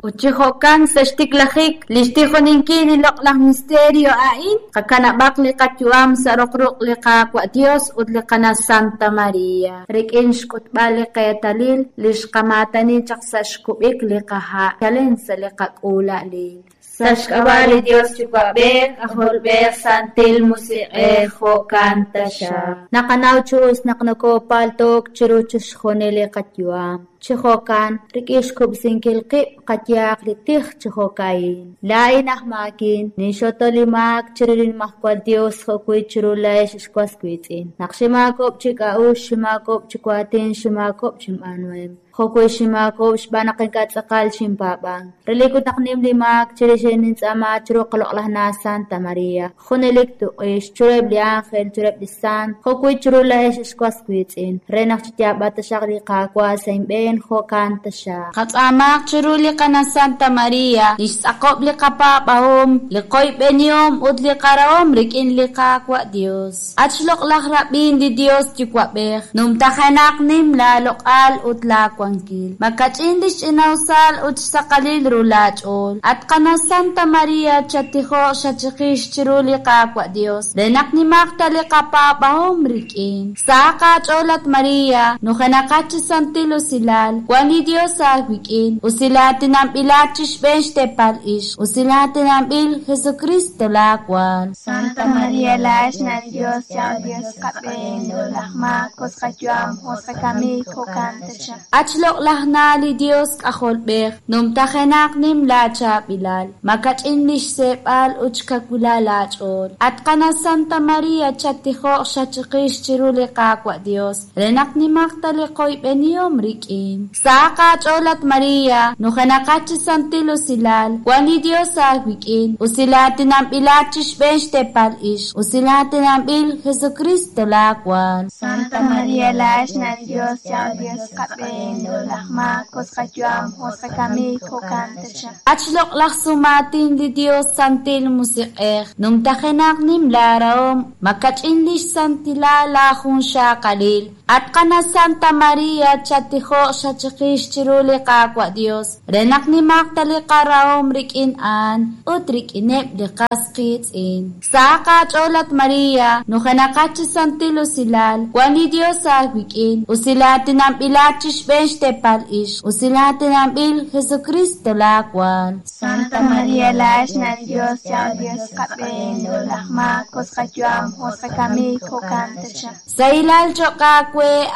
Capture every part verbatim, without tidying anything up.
Ut chi jo'kan sa' xtiklajik li xtijoninkil li loq'laj misterio a'in, qakanab'aq li qayu'am sa' roq ruq' li Qaawa' Dios ut li Qana Santa Maria, rik'in xk'utb'al li qeetalil li xqamaatani chaq sa' xkub'ik li qaha' chalen sa' li qak'uula'alil. Sa' xk'ab'a' li Dios Yuwa'b'ej, K'ajolb'ej, Santil Musiq'ej, jo'kan taxaq. Naqanaw chi us naq nokopalto'k chiru chixjunil li qayu'am. Chi jo'kan, rik'in xkub'sinkil qib' qayehaq li tij chi jo'ka'in. Laa'in aj maakin, ninxoto li maak chiru li Nimajwal Dios jo'wi' chiru laa'ex ex was wiitz'in. Naq xinmaakob'k chi k'a'uxl, xinmaakob'k chi waatin, xinmaakob'k chinb'aanuhem. Jo'wi' xinmaakob'k xb'aan naq ink'a' tz'aqal xinpaab'ank. Relik ut naq nim li maak chirix nintz'aama chiru qaloq'laj na' Santa Maria, junelik tuq'ix, chiruheb' li ángel, chiruheb' li sant, jo'wi' chiru laa'ex ex was wiitz'in, re naq chiyaab'a taxaq li Qaawa' sa' inb'een, jo'kan taxaq. Qatz'aamaq chiru li Qana Santa Maria, li xtz'aqob' li qapaab'ahom, li qoyb'enihom ut li qarahom rik'in li Qaawa' Dios. At xloq'laj rab'in li Dios Yuwa'b'ej, numtajenaq nim laaloq'al ut laawankil. Makach'in li xch'inawsal ut xsaqalil ru laach'ool. At Qana Santa Maria, chatijoq xachiqix chiru li Qaawa' Dios, re naq nimaq ta li qapaab'ahom rik'in. Sahaq aach'ool at Maria, nujenaqat chi santil usilal, wan li Dios aawik'in, usilaatinanb'ilat chi xb'een xteepal ixq, usilaatinanb'il Jesucristo laawaal. Santa Maria laa'ex na' li Dios, yaw Dios qab'een, loq'laj maak, us qayu'am, us qakamik, jo'kan taxaq. At xloq'laj na' li Dios K'ajolb'ej, numtajenaq nim laachaab'ilal, makach'in li xseeb'al ut xkawilal laach'ool. At Qana Santa Maria, chatijoq xachiqix chiru li Qaawa' Dios, re naq nimaq ta li qoyb'enihom rik'in. Sahaq aach'ool at Maria, nujenaqat chi santil usilal, wan li Dios aawik'in, usilaatinanb'ilat chi xb'een xteepal ixq, usilaatinanb'il Jesucristo laawaal. Santa Maria laa'ex na' li Dios, yaw Dios qab'een, loq'laj maak, us qayu'am, us qakamik, jo'kan taxaq. At xloq'laj sumaatin li Dios Santil Musiq'ej, numtajenaq nim laarahom, makach'in li xsantilal laajunxaqalil. At Qana Santa Maria, chatijoq xachiqix chiru li Qaawa' Dios, re naq nimaq ta li qarahom rik'in a'an ut rik'ineb' li qas qiitz'in. Sahaq aach'ool at Maria, nujenaqat chi santil usilal, wan li Dios aawik'in, usilaatinanb'ilat chi xb'een xteepal ixq, usilaatinanb'il Jesucristo laawaal. Santa Maria laa'ex na' li Dios, yaw Dios qab'een, loq'laj maak, us qayu'am, us qakamik, jo'kan taxaq. Sahilal cho'q aawe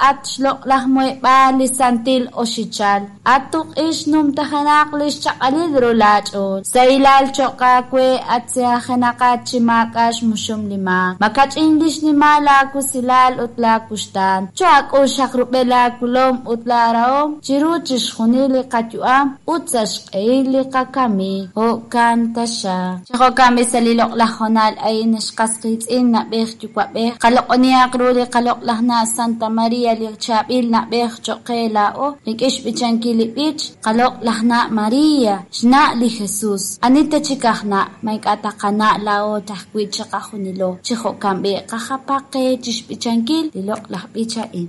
at xloq'laj muheb'aal li santil oxichal, at tuq'ix numtajenaq li xchaq'alil ru laach'ool. Sahilal cho'q aawe at seajenaqat chi maak'a' xmuxum li maak, makach'in li xnimal laawusilal ut laakuxtaan. Cho'ak'ul xaq rub'el laakulom ut laarahom chiru chixjunil li qayu'am ut sa' xq'ehil li qakamik, jo'kan taxaq. Chi jo'kan b'i sa' li loq'laj honal a'in ex qas qiitz'in na'b'ej yuwa'b'ej, qaloq'onihaq ru li qaloq'laj na' Santa Maria li chaab'il na'b'ej cho'q qe laa'o, rik'in xb'ichankil li b'ich, qaloq'laj na' Maria, xna' li Jesus. Ani ta chik aj na', ma ink'a' ta qana' laa'o tajwi' chiqajunilo. Chi jo'kan b'i qajapaq qe chi xb'ichankil li loq'laj b'ich a'in.